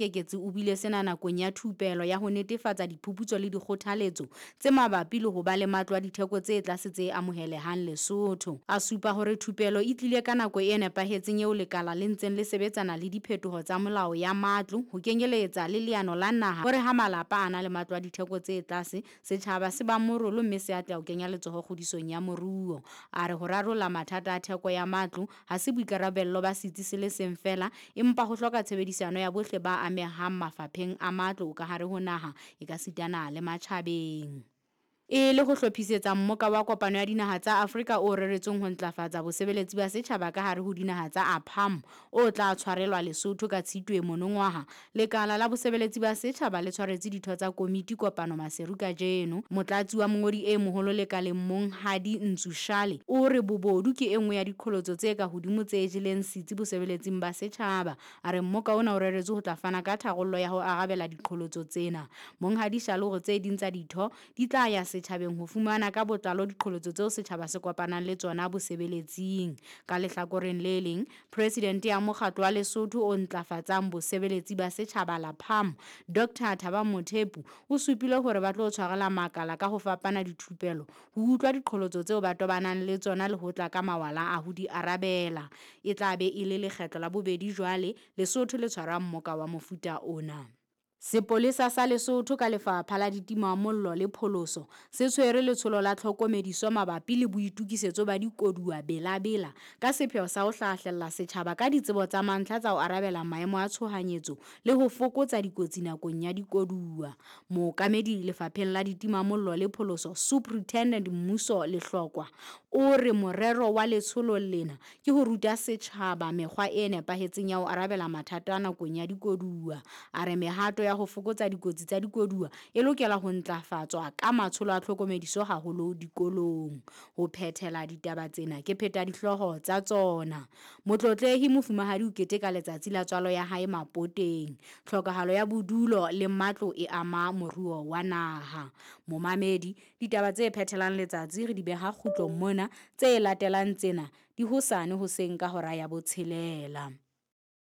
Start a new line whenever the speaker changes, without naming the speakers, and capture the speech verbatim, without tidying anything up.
Keketsi o buile sena nakong ya thupelo ya ho netefatsa diphuputso le dikgothaletso tse mabapi le ho ba le matlo a ditheko tse tlase tse amohelehang Lesotho. A supa hore thupelo e tlile ka nako e nepahetseng eo lekala le ntseng le sebetsana le diphetoho tsa melao ya matlo ho kenyeletsa le leano la naha hore ha malapa a na le matlo a ditheko tse tlase sechaba se ba morolo mme se atleha ho kenya letsoho kgodisong ya moruo. A re ho rarolla mathata a theko ya matlo ha se boikarabello ba setsi se le seng feela empa ho hloka tshebedisano ya bohle ba amehang mafapheng a matlo ka hare ho naha ekasitana le matjhabeng. E le ho hlophisetsa mmoka wa kopano ya dinaha tsa Afrika o reretsweng ho ntlafatsa bosebeletsi ba setjhaba ka hare ho dinaha tsa APAM o tla tshwarelwa Lesotho ka Tshitwe monongwaha, lekala la bosebeletsi ba setjhaba le tshwaretse ditho tsa komiti kopano Maseru kajeno. Motlatsi wa mongodi e moholo lekaleng Monghadi Ntsu Shale o re bobodu ke e nngwe ya diqholotso tse ka hodimo tse jeleng setsi bosebeletsing ba setjhaba. A re mmoka ona o reretswe ho tla fana ka tharollo ya ho arabela diqholotso tsena. Monghadi Shale o re tse ding tsa ditho di tla ya setjhabeng ho fumana ka botlalo diqholotso tseo setjhaba se kopanang le tsona bosebeletsing. Ka lehlakoreng le leng, President ya mokgatlo wa Lesotho o ntlafatsang bosebeletsi ba setjhaba LAPAM, Doctor Thabang Mothepu o supile hore ba tlo tshwarela makala ka ho fapana dithupelo ho utlwa diqholotso tseo ba tobanang le tsona le ho tla ka mawala a ho di arabela. E tla be e le lekgetlo la bobedi jwale Lesotho le tshwara mmoka wa mofuta ona. Sepolesa sa Lesotho ka lefapha la ditimamollo le pholoso se tshwere letsholo la tlhokomediso mabapi le boitukisetso ba dikoduwa Bela-Bela ka sepheo sa ho hlahlella setjhaba ka ditsebo tsa mantlha tsa ho arabela maemo a tshohanyetso le ho fokotsa dikotsi nakong ya dikoduwa. Mookamedi lefapheng la ditimamollo le pholoso Superintendent Mmuso Lehlokwa o re morero wa letsholo lena ke ho ruta setjhaba mekgwa e nepahetseng ya ho arabela mathata nakong ya dikoduwa. A re mehato ya ho fokotsa dikotsi tsa dikoduwa e lokela ho ntlafatswa ka matsholo a tlhokomediso haholo dikolong. Ho phethela ditaba tsena ke pheta dihlooho tsa tsona. Motlotlehi Mofumahadi o keteka letsatsi la tswalo ya hae Mapoteng. Tlhokahalo ya bodulo le matlo e ama moruo wa naha. Momamedi, ditaba tse phethelang letsatsi re di beha kgutlong mona, tse latelang tsena di hosane hoseng ka hora ya botshelela.